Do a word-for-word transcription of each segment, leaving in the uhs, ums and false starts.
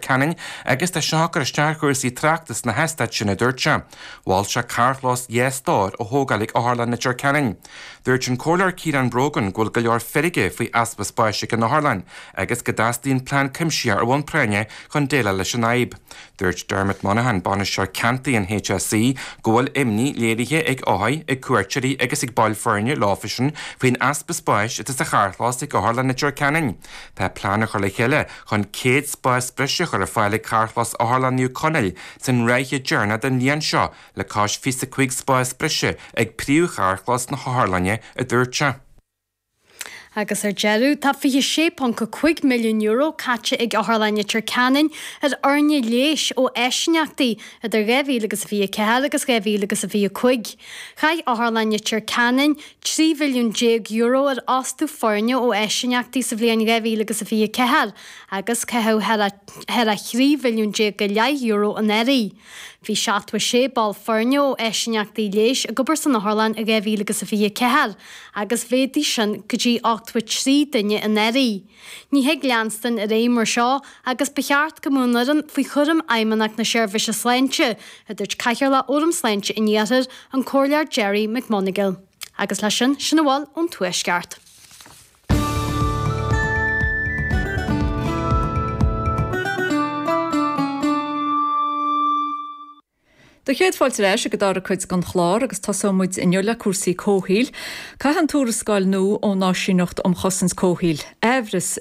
Ceanainn agus tá seo ag cur isteach ar chúrsaí tráchta sna heastáit sin a dúirt sé. Mhol sé carrchlós dhá stór a thógáil ag Otharlann Leitir Ceanainn. Dúirt an Comhairleoir Ciarán Brogan go bhfuil go leor feirge faoi easpa spáis ag an otharlann agus go dteastaíonn plean cuimsitheach ar bhonn práinne chun déileáil leis an fhadhb. Dúirt Dermot Monaghan bainisteoir ceantair an HSE go bhfuil imní léirithe ag othair, ag cuairteoirí agus ag baill foirne leofasan faoin easpa spáis atá sa charrchlós ag Otharlann Leitir Ceanainn. Tá plean á chur le chéile chun céad spás breise a chur ar fáil ag carrchlós Otharlann Naomh Conaill san ráithe deireanach den bhliain seo le cois fiche cúig spás breise ag príomhcharrchlós na hotharlainne a dúirt sé. Agus ar deireadh tá fiche sé ponc a cúig milliún euro caite ag Otharlann Leitir Ceanainn ar fhoirne leighis ó áisíneachtaí idir dhá mhíle agus a fiche ceathair agus dhá mhíle agus a fiche cúig. Chaith Otharlann Leitir Ceanainn trí mhilliún déag euro ar fhostú foirne ó áisíneachtaí sa bhliain dhá mhíle agus a fiche ceathair agus caitheadh thar a thrí mhilliún déag go leith euro anuraidh. Bhí seachtó sé ball foirne ó áisíneachtaí leighis ag obair san otharlann i dhá mhíle agus a fiche ceathair agus mhéadaigh sin go dtí ochtó trí duine anuraidh. Ní thig leanstan ar aghaidh mar seo agus ba cheart go mbeadh an fhoireann faoi chúram Fheidhmeannacht na Seirbhíse Sláinte, a dúirt Cathaoirleach Fhóram Sláinte an Iarthair, an Comhairleoir Gerry McMonagall. Agus leis sin, sin a bhfuil ón Tuaisceart. Do chéad fáilte ar ais ag an dara cuid den chlár agus tosóidh muid inniu le cúrsaí comhshaoil. Caitheann an tuarascáil nua ón Áisíneacht um Chosaint Comhshaoil aimhreas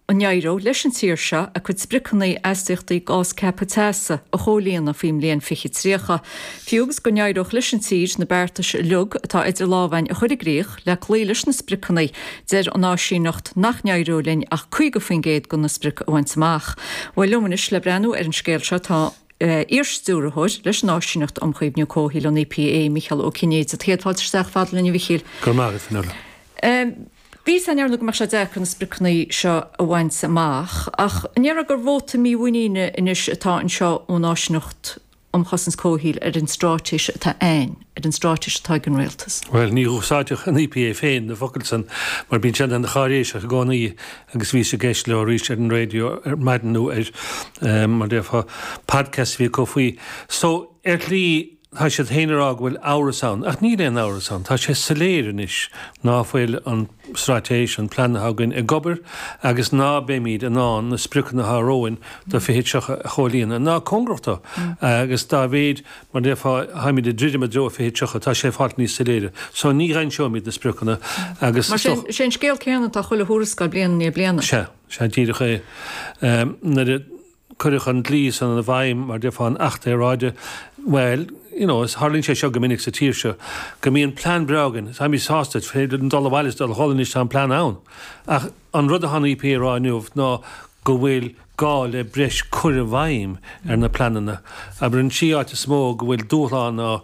an éireoidh leis an tír seo a cuid spriocanna astaíochtaí gás ceaptha teasa a chomhlíonadh faoin mbliain fiche tríocha. Fiú agus go n-éireodh leis an tír na beartais uilig atá idir lámhainn a chur i gcrích le cloí leis na spriocanna, deir an áisíneacht nach n-éireodh linn ach caoga faoin gcéad de na sprioc a bhaint amach. Bhuel liom anois le breathnú ar an scéal seo tá iar-stiúrthóir leis an Áisíneacht um Chaomhnú Comhshaoil an EPA, Mícheál Ó Cinnéide. Céad fáilte isteach fad linn a Mhíchíl. Go raibh maith agat, Fionnuala. Bhí a fhios againn ar ndóigh go mbeadh sé deacair na spriocanna seo a bhaint amach, ach an ndéarfá gur vóta mímhuiníne anois atá anseo ón Áisíneacht um Chosaint Comhshaoil ar an straitéis atá ann, ar an straitéis atá ag an rialtas? Bhuel, ní úsáidfeadh an EPA féin na focail san mar bíonn siad ana cháiréiseach i gcónaí agus bhíos ag éisteacht leo arís ar an raidió ar maidin nó ar, mar déarfá, podcast a bhí acu faoi. So, ar shlí, tá siad féin ag rá go bhfuil amhras ann, ach níl aon amhras ann. Tá sé soiléir anois ná fuil an straitéis, an plean atá againn ag obair agus ná beimid in ann na spriocanna atá romhainn do fiche tríocha a chomhlíonadh, ná cóngarach dó. Agus dá mhéid, mar déarfá, tháimid ag druidim i dtreo fiche tríocha, tá sé ag fáilt níos soiléire. So ní dh'aimseoimid na spriocanna agus. Mar sin, sé an scéal céanna atá chuile thuarascáil bliain i ndiaidh bliana. Sea, sea, díreach é. Nuair a. cuireadh an dlí san i bhfeidhm, mar déarfá, an Acht Aeráide, bhuel, you know, is tharlaíonn sé seo go minic sa tír seo, go mbíonn plean breá againn, táimid sásta, féidir linn dul abhaile is dul a chodladh anois, tá an plean ann. Ach an rud atá an EPA a rá inniu ná go bhfuil gá le breis cur i bhfeidhm ar na pleananna. Abair an trí áit is mó go bhfuil dúshlán ná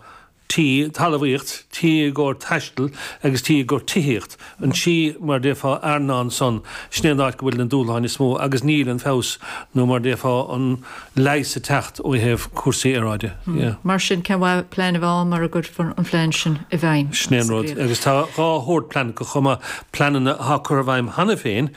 T, talmhaíocht, T i gcomhair taistil agus T i gcomhair tithíocht. An trí, mar a déarfá, earnáil san, sin é an áit go bhfuil na dúshláin is mó agus níl an feabhas nó mar a déarfá an leigheas ag teacht ó thaobh cúrsaí aeráide. Yeah. Mar sin, cén mhaith plean a bheith ann mura gcuirfear an plean sin i bhfeidhm Sin é an sa rud. gcríoch? Agus tá dhá shórt plean acu chomh maith, pleananna atá curtha i bhfeidhm cheana féin,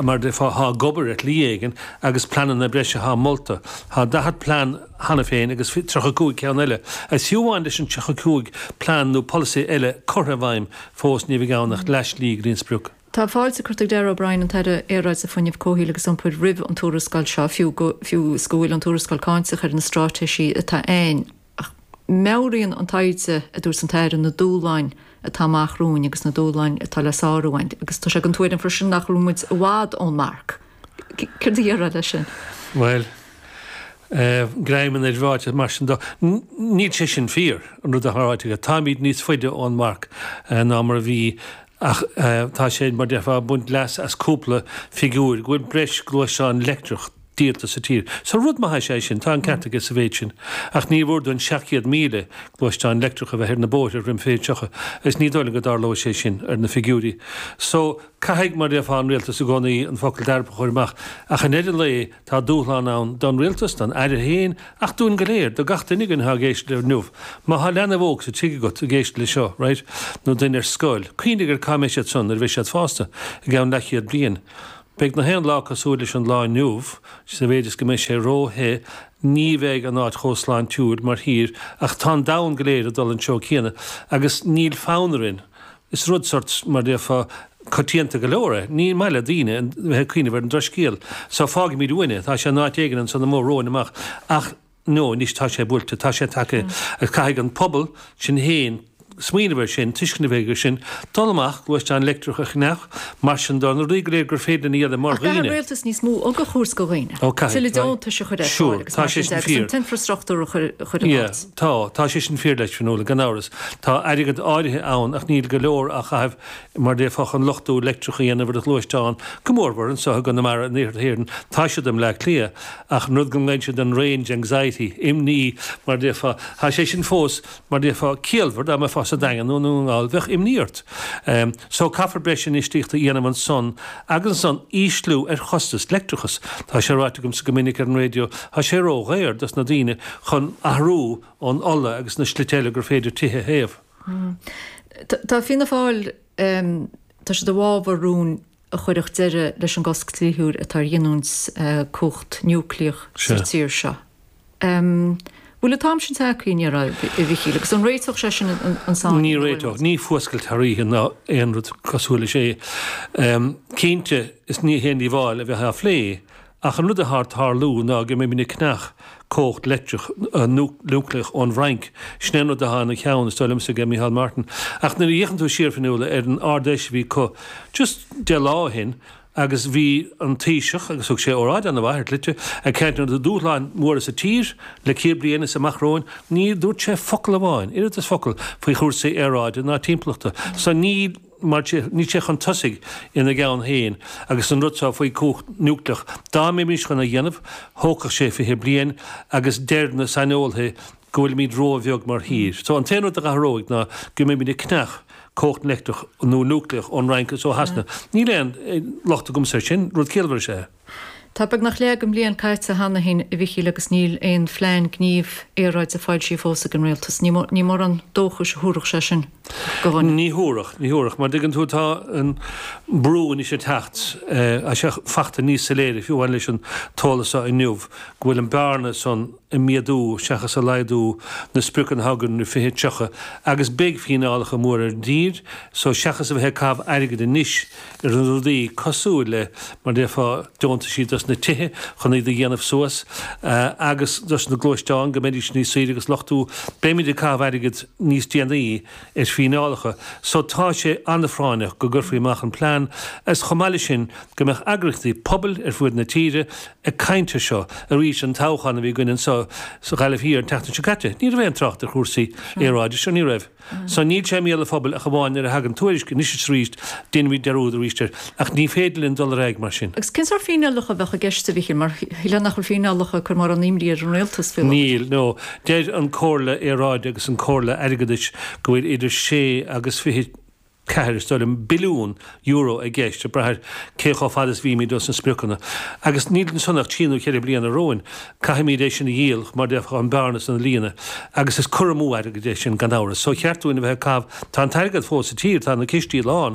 mar a déarfá, atá ag obair ar shlí éigin agus pleananna breise atá molta. Tá daichead plean cheana féin agus tríocha cúig ceann eile. Agus fiú amháin leis an tríocha cúig plean nó polasaí eile curtha i bhfeidhm, fós ní bheidh ann ach leathshlí go dtí an sprioc. Tá fáilte curtha ag Darragh O'Brien, an tAire Aeráide, Fuinnimh, Comhshaoil agus Iompair roimh an tuarascáil seo, fiú go fiú is go bhfuil an tuarascáil cáinteach ar na straitéisí atá ann. Ach meabhraíonn an taighde, a dúirt an tAire, na dúshláin atá amach romhainn agus na dúshláin atá le sárú againn. Agus tá sé den tuairim freisin nach bhfuil muid i bhfad ón marc. Céard a déarfá leis sin? Bhuel, greim an ráite mar sin dó. Níl sé sin fíor, an rud atá ráite aige. Táimid níos faide ón marc ná mar a bhí ach tá sé, mar déarfá, ag baint leas as cúpla figiúir, go bhfuil breis gluaisteán leictreach díolta sa tír. So rud maith is ea é sin, tá an ceart aige sa mhéid sin. Ach níor mhór dúinn seacht gcéad míle gluaisteán leictreach a bheith ar na bóithre roim fiche tríocha agus ní dóigh liom go dtarlóidh sé sin ar na figiúirí. So caithfidh, mar déarfá, an rialtas i gcónaí an focal dearfach a chur amach ach i ndeireadh an lae tá dúshlán ann don rialtas, don Aire féin ach dúinn go léir, do gach duine againn atá ag éisteacht leo inniu. Má tá leanbh óg sa tigh agat ag éisteacht le seo, right, nó duine ar scoil, cuimhnigh ar cá mbeidh siad san nuair a bheidh siad fásta, i gceann leathchéad bliain. Beidh na haon lá cosúil leis an lá inniu, sa mhéid is go mbeidh sé ró-the, ní bheidh an áit chomh sláintiúil mar thír ach tá an domhan go léir ag dul an treo céanna agus níl fonn orainn. Is rud sort, mar déarfá, coitianta go leor é. Ní maith le daoine bheith ag cuimhneamh ar an drochscéal. So fágfaimid uainn é. Tá sé in áit éigin ansan amuigh romhainn amach ach no, anois tá sé buailte, tá sé tagtha agus caithfidh an pobal sin féin smaoineamh air sin, tuiscint a bheith aige sin, dul amach, gluaisteán leictreach a cheannach, mar sin de, na rudaí go léir gur féidir linn a dhéanamh mar Ach caithfidh dhaoine. an rialtas níos mó aga a thabhairt do dhaoine. Ó, caithfidh, Tuilleadh right. deontais a chur ar fáil Sure, agus tá mar sé sin sin de, agus fíor. an t-infreastruchtúr a chur a chur in Yeah, áit. tá, tá sé sin fíor leis, Fionnuala, gan amhras. Tá airgead áirithe ann ach níl go leor á chaitheamh mar déarfá chun luchtú leictreach a dhéanamh ar do ghluaisteán, go mórmhór anseo i gConamara in iarthar na hÉireann. Tá siad i mBleá Cliath ach an rud go nglaonn siad an range anxiety, imní mar déarfá, tá sé sin fós mar déarfá ciallmhar dá mbeifeá sa Daingean nó i nDún na nGall, bheadh imní ort. So caithfear breis infheistíochta a dhéanamh ansan agus ansan ísliú ar chostas leictreachas. Tá sé ráite agamsa go minic ar an raidió, tá sé ró-dhaor dos na daoine chun athrú ón ola agus na slite eile gur féidir tithe a théamh. Tá Fianna Fáil, tá siad i bhfabhar rúin a chuirfeadh deireadh leis an gcosc dlíthiúil atá ar ghiniúint cumhacht núicléach sa tír seo. Bhfuil an t-am sin tagtha i ndáiríre, a Mhichíl, agus an réiteodh sé sin an sáinn Ní ina bhfuil réiteodh, muid? ní fuascailt thar oíche ná aon rud cosúil leis é. Cinnte, is ní haon díobháil a bheith á phlé, ach an rud atá ag tarlú ná go mbeimid ag ceannach cumhacht leictreach núicléach ón bhFrainc. Sin é an rud atá ina cheann, is dóigh liomsa, ag Micheál Martin. Ach nuair a fhéachann tú siar, Fionnuala, ar an Ard-Fheis a bhí acu just deich lá ó shin, agus bhí an Taoiseach, agus thug sé óráid an-mhaith ar shlite, ag caint ar na dúshláin mhóra sa tír le céad bliain is amach romhainn, ní dúirt sé focal amháin, oiread is focal, faoi chúrsaí aeráide ná timpeallachta. So ní mar níl sé chun tosaigh ina gceann féin agus an rud seo faoi chumhacht núicléach, dá mbeimis chun a dhéanamh, thógfadh sé fiche bliain agus deir na saineolaithe go bhfuilimid róbheag mar thír. So an t-aon rud a athróidh ná go mbeimid ag ceannach cumhacht leictreach nó núicléach ón Fhrainc is ó Shasana. Níl aon locht agamsa air sin, rud ciallmhar is ea é. Tá beagnach leath den bhliain caite cheana féin, a Mhichíl, agus níl aon phlean gnímh aeráide foilsithe fós ag an rialtas. Ní mórán dóchais a thabharfadh sé sin do dhuine. Ní thabharfadh, ní thabharfadh. Mar dtuigeann tú, tá an brú anois ag teacht, tá sé fachta níos soiléire, fiú amháin leis an t-eolas seo inniu, go bhfuil an bearna san ag méadú seachas ag laghdú na spriocanna atá againn do fiche tríocha agus beidh fíneálacha móra ar an dtír so seachas a bheith ag caitheamh airgid anois ar na rudaí cosúil le mar déarfá deontaisí dos na tithe chun iad a dhéanamh suas agus dos na gluaisteáin go mbeidís níos saoire agus luchtú beimid ag caitheamh airgid níos déanaí ar fíneálacha so tá sé an-phráinneach go gcuirfí amach an plean agus chomh maith leis sin go mbeadh eagraíochtaí pobail ar fuaid na tíre ag caint air seo arís an toghchán a bhí againn anseo sa Ghaillimh Thiar an tseachtain seo caite. Ní raibh aon trácht ar chúrsaí aeráide seo, ní raibh. So níl sé i mbéal an phobail ach amháin nuair a thagann tuairisc anois is arís, déanaimid dearúd arís air. Ach ní féidir linn dul ar aghaidh mar sin. Agus cén sórt fíneálacha a bheadh i gceist, a Mhichíl, mar shílfeá nach bhfuil fíneálacha ag cur mórán imní ar an rialtas faoi láthair? Níl, no. Deir an Comhairle Aeráide agus an Comhairle Airgeadais go bhfuil idir sé agus fiche ceathair, is dóigh liom, billiún euro i gceist, ag brath ar cé chomh fada is bhímid dos na spriocanna. Agus níl ansan ach trí nó ceithre bliana romhainn. Caithfimid é sin a dhíol, mar déarfá, an bearna san a líonadh. Agus is cur amú airgid é sin, gan amhras. So cheart dúinn a bheith ag caitheamh, tá an t-airgead fós sa tír, tá na cistí lán,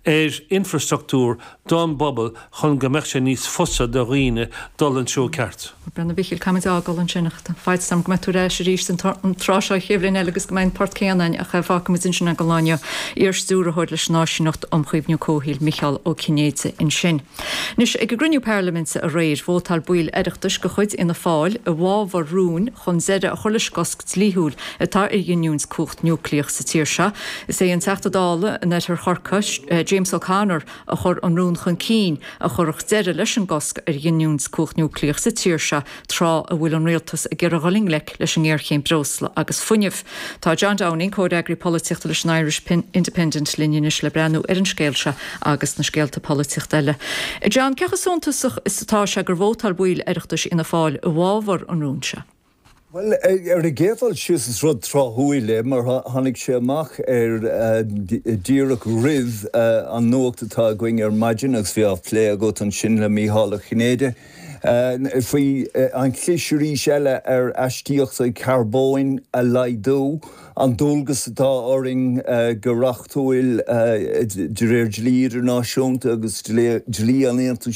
ar infrastruchtúr don bpobal chun go mbeadh sé níos fusa do dhaoine dul an treo ceart. Bhuel, a Mhichíl, caithfimid é a fhágáil ansin ach tá faitíos orm go mbeidh tú ar ais arís an tráth seo an chéad bhliain eile agus go mbeidh an port céanna againn ach fágfaimid ansin é don lá inniu. Iar-Stiúrthóir leis an Áisíneacht um Chaomhnú Comhshaoil, Micheál Ó Cinnéide ansin. Anois, ag an gcruinniú parlaiminte aréir, vótáil baill Oireachtais de chuid Fhianna Fáil i bhfabhar rúin chun deireadh a chur leis an gcosc dlíthiúil atá ar ghiniúint cumhacht núicléach sa tír seo. Is é an Teachta Dála in Oirthear Chorcaí, James O'Connor, a chuir an rún chun cinn a chuirfeadh deireadh leis an gcosc ar ghiniúint cumhacht núicléach sa tír seo tráth a bhfuil an rialtas ag iarraidh dul i ngleic leis an ngéarchéim breosla agus fuinnimh. Tá John Downing, comhfhreagraí polaitíochta leis an Irish Independent linn anois le breathnú ar an scéal seo agus na scéalta polaitíochta eile. John, cé chomh suntasach is atá sé gur vótáil baill Oireachtais Fhianna Fáil i bhfabhar an rúin seo? Bhuel, ar an gcéad dul síos is rud tráthúil é mar tháinig sé amach ar díreach roimh an nuacht atá againn ar maidin agus bhí á phlé agat ansin le Mícheál Ó Cinnéide faoi an chlis arís eile ar astaíochtaí carbóin a laghdú, an dualgas atá orainn go reachtúil de réir dlí idirnáisiúnta agus dlí an Aontais